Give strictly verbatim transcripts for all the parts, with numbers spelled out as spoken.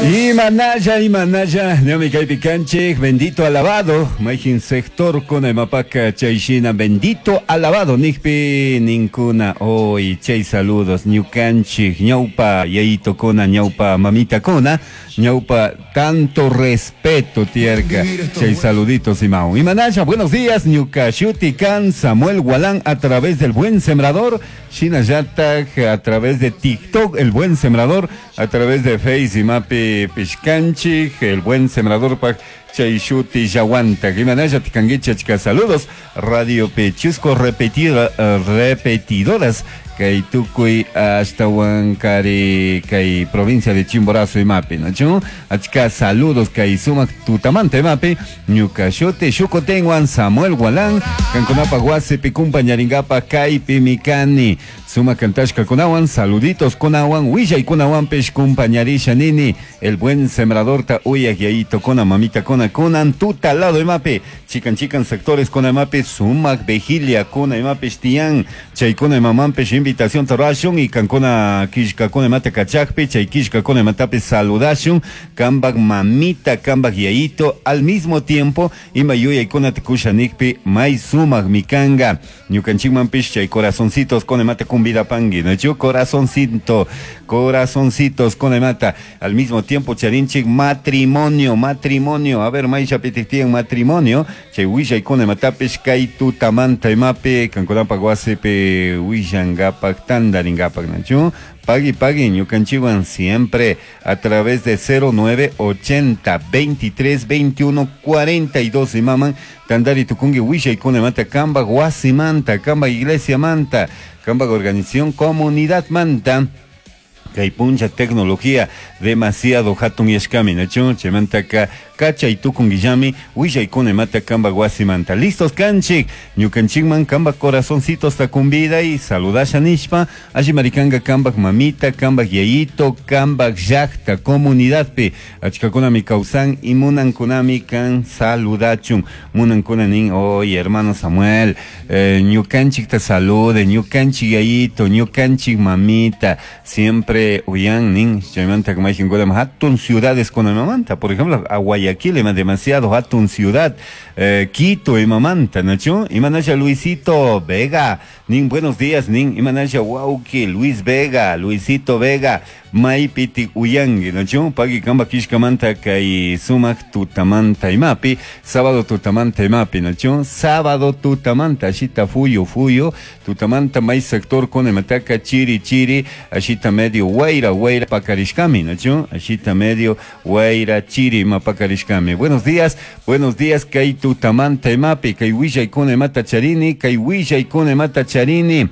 Imanalla, imanalla, ñami kaypi kanchik, bendito alabado, mayjin sector kuna imapaka chayshina bendito alabado nikpi ninkuna hoy chay saludos ñukanchik ñawpa yayitokuna ñawpa mamitakuna ñawpa tanto respeto tiyarka chay saluditos imawan. Imanalla, buenos días, ñuka shuti kan Samuel Gualán a través del Buen Sembrador, shinallatak a través de TikTok, el Buen Sembrador, a través de Face imapi pishkanchik, el Buen Sembrador pak chay shuti yaguanta. Imanalla tikanguicha achka saludos, Radio Pechusco repetida, eh, repetidoras kay tukuy ashtawan kari kay provincia de Chimborazo imapi, ¿no? Achka saludos kay sumak tutamanta imapi, ñuka shuti shukutinwan Samuel Gualán, kankunapa wasipi kumpañaringapa kaypi mikani, sumak kantashka kunawan, saluditos kunawan, willay kunawanpish kumpañarisha nini, el buen sembrador ta uyak yayito kuna mamita kuna kunan tuta lado imapi, chikan chikan sectores kuna imapi, sumak vigilia kuna imapish tiyan, chay kuna imamanpish invitación tarashun y kankuna kishkakuna imata kachakpi, chay kishkakuna imatapi saludashun, kambak mamita, kambak yayito, al mismo tiempo, ima yuyaykuna kusha nikpi, may sumak mikanga, ñukanchikmanpish chay corazoncitos kuna imata kumbidapangui, ¿no? Corazoncito, corazoncitos kuna imata, al mismo tiempo charinchik matrimonio, matrimonio, a ver, may chapitiktiyan matrimonio, chay willaykuna imatapish kay tutamanta imapi, kankunapak wasipi willangapak tandaringapak, ¿no? Pagui, pagui, ñukanchiwan siempre a través de cero nueve ochenta veintitrés veintiuno cuarenta y dos imaman tandari tukungi willaykuna imata kambak wasimanta, kambak iglesia manta, kambak organización comunidad manta. Kay puncha tecnología demasiado hatun yashkami, ¿no? Chaymantaka kachay tukunguillami willaykuna imata kambak wasimanta. Listos kanchik, ñukanchikman kambak corazoncitos takumbida y saludasha nishpa, alli maricanga kambak mamita, kambak yayito, kambak llakta, comunidadpi, achkakunami kawsan y munankunami kan saludachun. Munankuna nin, oye hermano Samuel, eh, ñukanchik te salude, ñukanchik yayito, ñukanchik mamita, siempre uyan nin, chaymanta kamajinkuna hatun ciudades con mamanta, por ejemplo, a Guayaquil ima demasiado hatun ciudad, eh, Quito imamanta, ¿no? Imanasha Luisito Vega, nin buenos días, nin imanasha wauki Luis Vega, Luisito Vega, maypiti uyangi, ¿no? Pagui kamba kishkamanta kay sumak tutamanta imapi, sábado tutamanta imapi, ¿no? Sábado tutamanta, ashita fuyo fuyo, tutamanta may sector con imataka chiri chiri, ashita medio guaira guaira pakarishkami, ¿no? Ashita medio guaira chiri mapakarishkami. Buenos días, buenos días, kay tutamanta imapi, kay willaykuna imata charini, kay willaykuna imata charini.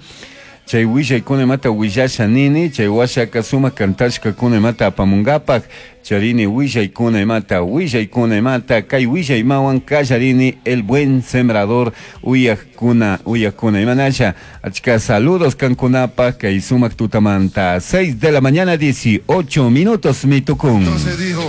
Chay willaykuna imata willasha nini, chay washaka sumak kantashka kuna imata apamungapak, charini willaykuna imata, willaykuna imata, kay willaymawan kallarini el buen sembrador uyakuna, uyakuna imanasha. Achka saludos kankunapa, kay sumak tutamanta. seis de la mañana, dieciocho minutos, mitukun. Entonces dijo,